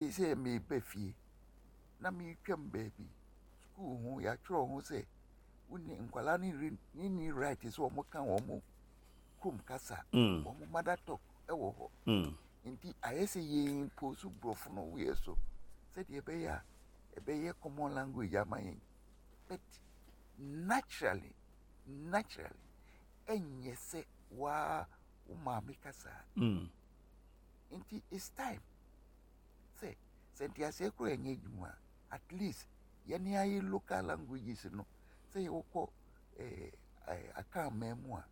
Sɛ mereba fie na meretwam baabi, sukuu ho, wɔatwerɛ ho sɛ wonni nkwadaa no nni right sɛ wɔka wɔn kurom kasa, wɔn mother tongue wɔ hɔ. Nti ayɛ sɛ yɛn impose borɔfo no wɔ yɛn so sɛdeɛ ɛbɛyɛ a ɛbɛyɛ common language ama yɛn. But naturally, naturally, ɛnyɛ sɛ waa wo maame kasa. Nti it's time sɛ sɛ nteaseɛ koraa ɛnyɛ adwuma a, at least yɛne ayɛ local languages no sɛ yɛwokɔ eh, eh, Akan man mu a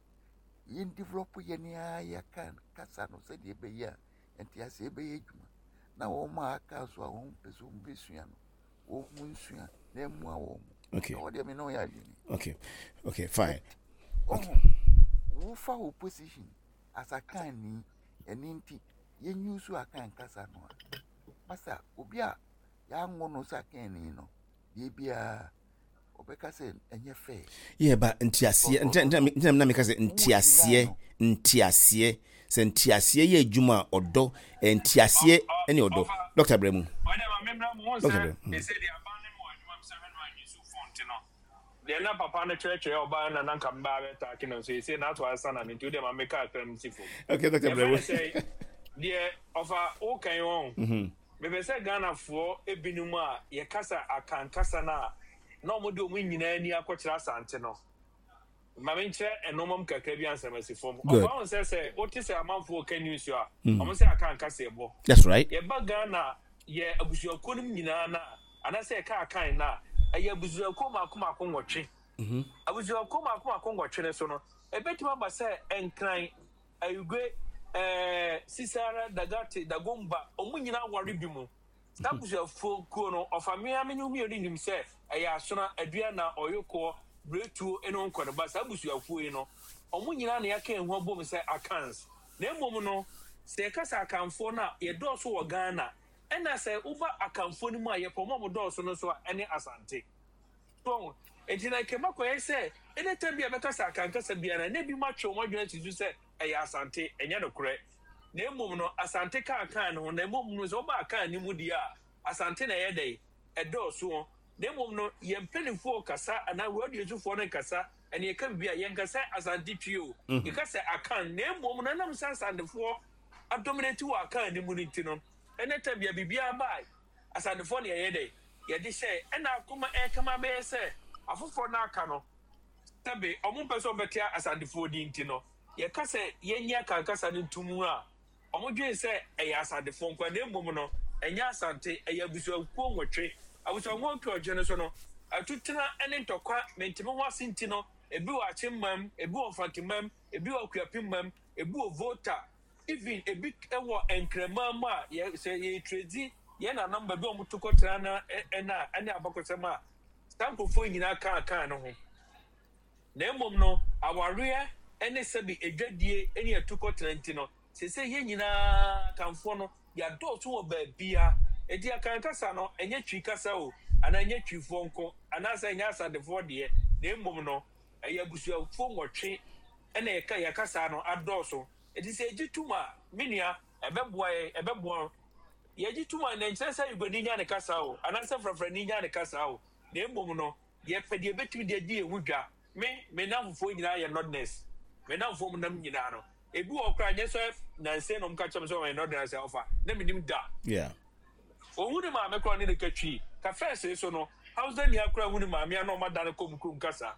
yɛn develop yɛne ayɛ Akan kasa no sɛdeɛ ɛbɛyɛ a nteaseɛ bɛyɛ adwuma na wɔn a aka nso a wɔn pɛ sɛ wɔn bɛsua no wɔn nsua na ɛmmoa wɔn. Okay. Ɛwɔ deɛ me ne wɔyɛ adwene. Okay. Okay, fine. Okay. Wofa wo position as Akanni ɛno nti yɛn use Akan kasa no a, masa obi a yɛanwo no sɛ Akanni no, deɛ biara ɔbɛka sɛ ɛnyɛ fair. Yɛ ba nteaseɛ ntina na meka sɛ nteaseɛ nteaseɛ sɛ nteaseɛ yɛ adwuma a ɔdɔ nteaseɛ ne ɔdɔ dɔkta brɛ mu. Dɔkta brɛ mu. Deɛ na papa no kyerɛkyerɛ ɔbaa no na na nka mebaa bɛtaake no nso ɛsei na ato asa na me nti wodeɛ ma meka kakra msi fam. Okay, Dr. Brɛwo. Sɛ deɛ ɔfa woka yi wɔn mhm. mepɛ sɛ Ghanafoɔ ebinom a yɛkasa Akan kasa no a na wɔn de wɔn nyinaa ani akɔkyerɛ Asante no ma menkyerɛ nneɛma mu kakra bi ansa masi fam. Ɔfa wɔn sɛ sɛ wote sɛ amanfoɔ ka news a mm. wɔn sɛ Akan kasa ɛbɔ. That's right. Yɛba Ghana yɛ abusuakuo no nyinaa na Anaasɛ yɛka Akan no a, ɛyɛ abusuakuo mmaako mmaako nwɔtwe. Abusuakuo mmaako mmaako nwɔtwe no so no, ɛbɛtumi aba sɛ Nkran, Ayigwe, ɛɛ, Sisara, Dagate, Dagomba, wɔn nyinaa ware bi mu. Saa abusuakuo no, ɔfa me ara me ne wo mmienu nim sɛ ɛyɛ Asona, Aduana, Ɔyokoɔ, Biretuo ne Onkɔneba. Saa abusuakuo yi no, wɔn nyinaa na yɛaka yɛn ho abom sɛ Akans. Na mmom no, sɛ yɛka sɛ Akanfoɔ no a, yɛdɔɔso wɔ Ghana. Ɛna sɛ woba Akanfoɔ no mu a, yɛpɛ wɔn a wɔdɔɔso no nso a, ɛne Asante. So wahu? Enti na nka ɛbɛkɔyɛ sɛ any time bi a yɛbɛka sɛ Akan kasa biara no, na ebinom atwe wɔn adwene asi so sɛ ɛyɛ Asante. Ɛnyɛ nokorɛ. Na mmom no, Asante ka Akan no ho. Na mmom no, sɛ woba Akan no mu deɛ a, Asante na ɛyɛ dɛn? Ɛdɔɔso. Na mmom no, yɛn mpanimfoɔ rekasa anaa radiosofoɔ no rekasa, ɛne yɛka biribi a, yɛnka sɛ Asante Twi o, yɛka sɛ Akan. Na mmom no, ɛnam sɛ Asantefoɔ adominate wɔ Akan no mu no nti no, ɛnɛ tam bia biribiara ba a, Asantefoɔ na yɛyɛ dɛn? Yɛde hyɛe. Ɛna akoma ɛrekama abɛyɛ sɛ afoforɔ no aka no, sɛbe wɔn mpɛ sɛ wɔbɛte Asantefoɔ din nti no, yɛka sɛ yɛnnye Akan kasa no nto mu a, wɔdwene sɛ ɛyɛ Asantefoɔ nko ara, na mmom no, ɛnyɛ Asante, ɛyɛ abusuakuo nwɔtwe. Abusuakuo nwɔtwe no so no, atutena ne ntɔkwa, mente-me-ho-ase nti no, ebi wɔ Akyemmam, ebi wɔ Mfantemam, ebi wɔ Akuapemmam, Ebi wɔ Volta, even ebi wɔ Nkraman mu a yɛ sɛ yɛretredi yɛn nananom baabi a wɔto kɔtena no ɛna ɛne abakɔsɛm a saa nkurɔfoɔ yi nyinaa kaa kaa no ho. Na mmom no awareɛ ne sɛbi adwadie ne atukɔtena nti no seesei yɛn nyinaa Akanfoɔ no yɛadɔɔso wɔ baabia. Enti Akan kasa no ɛnyɛ Twi kasa o anaa ɛnyɛ Twifoɔ nko anaasɛ ɛnyɛ Asantefoɔ deɛ na mmom no ɛyɛ abusuakuo nwɔtwe na yɛka yɛn kasa no adɔɔso. Enti sɛ yɛgye tom a, me nua, ɛbɛboa yɛn, ɛbɛboa wo. Yɛgye tom a, na ɛnkyerɛ sɛ Uganni nya ne kasa o, anaasɛ Frafrani nya ne kasa o, na mmom no, yɛpɛ deɛ yɛbɛtumi de adi yɛn ho dwa. Me, me nnamfofoɔ nyinaa yɛ Northerners. Me nnamfoɔ a wɔnam nyinaa no, ebi wɔ hɔ koraa, ɛnyɛ sɛ nnansa yi na wɔka kyerɛ me sɛ wɔyɛ Northerners a, ɔfa, na mennim da. Yeah. Ohu ne maame koraa ɔne no ka twi. Ka fɛs so no, Hausa ni akora hu ne maame a na ɔma da no kɔ mu kurom kasa.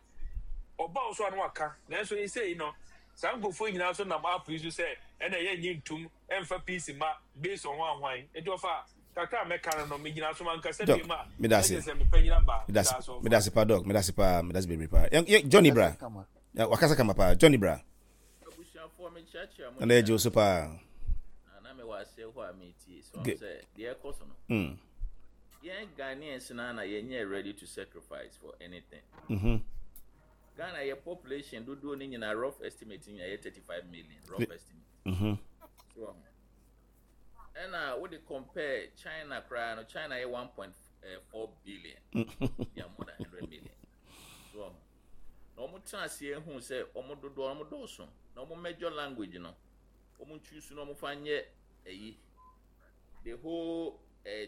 Ɔba wo so a na waka. Nanso seesei no, saa nkurɔfoɔ yi nyinaa nso nam app yi so sɛ ɛna yɛnnye ntom ɛmfa peace mma based on hwan hwan. Nti ɔfa kakra a mɛka no no, megyina so mankasa Doc, biom a, meda na ase. kyerɛ sɛ me panyin aba. Meda Meda ase, ase ɔfa. meda ase paa Doc, meda ase paa, meda ase bebree paa. Yɛn, yɛn, Johnny bra. Wakasa kama. Ya, Wakasa kama paa. Johnny bra. Abusuafoɔ mekyeakyea mo Nana yɛgye wo nyinaa. so paa. Na na mewɔ aseɛ hɔ a metie. So Good. sɛ deɛ ɛkɔ so no. Mm. Yɛn Ghanaians no na yɛnyɛ ready to sacrifice for anything. Mm-hmm. Ghana yɛ population dodoɔ no nyinaa rough estimate nyinaa yɛ 35 million rough estimate. Mm-hmm. So ɛna wode compare China koraa no China yɛ 1.4 billion. They are more than 100 million. So na wɔn tena aseɛ hu sɛ wɔn dodoɔ wɔn dɔɔso na wɔn major language no wɔn choose na wɔn fa nyɛ ɛyi the whole.